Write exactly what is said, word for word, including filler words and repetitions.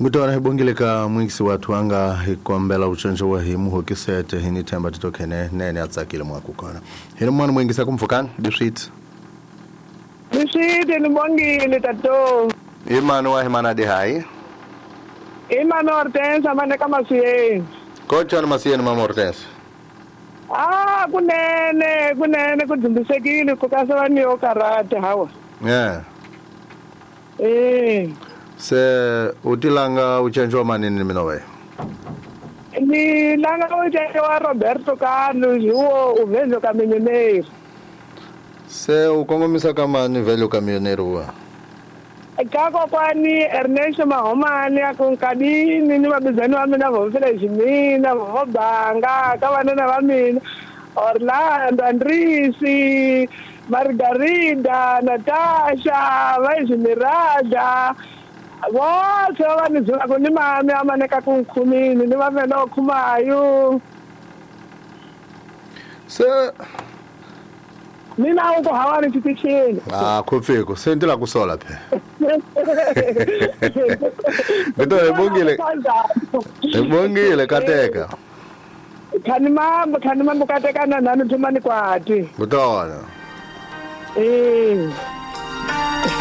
Ngutona hi bongile ka mwingisi wathu anga hi kombela utshentsho wa hi muhokisete hi ni themba titokhene nene a tsakile mwaku kona. Hi ni mwana mwingisi akumfukani biswit. Biswit ni bongile tato. Imano wa himana de hai. Imano Hortense maneka masiyeni. Kocha na masiyeni mama Hortense. Ah kunene kunene kudzumbisekile kukasa ni okarate hawa. Yeah. Eh. Se utilanga uchenjwa manini mina we? Ni langa uchenjwa Roberto Carlos huo uvezo kamionero. Se ukongomisa kama ni velo kamionero wa? Kako kwani Ernesto Mahomani akunkadini ni mabizani wa mina vofela ximina vobanga ka vanana va mina Orlando Andrisi Margarida Natasha Vaismirada vose va ni byela ni mami a maneka ku nkhumini ni va vela khumayo se mina uko hawani titishini ah khopfeko se ndila kusola phe Beto ebongile ebongile kateka khani mambo khani mambo kateka na nani thumani kwati Butona eh.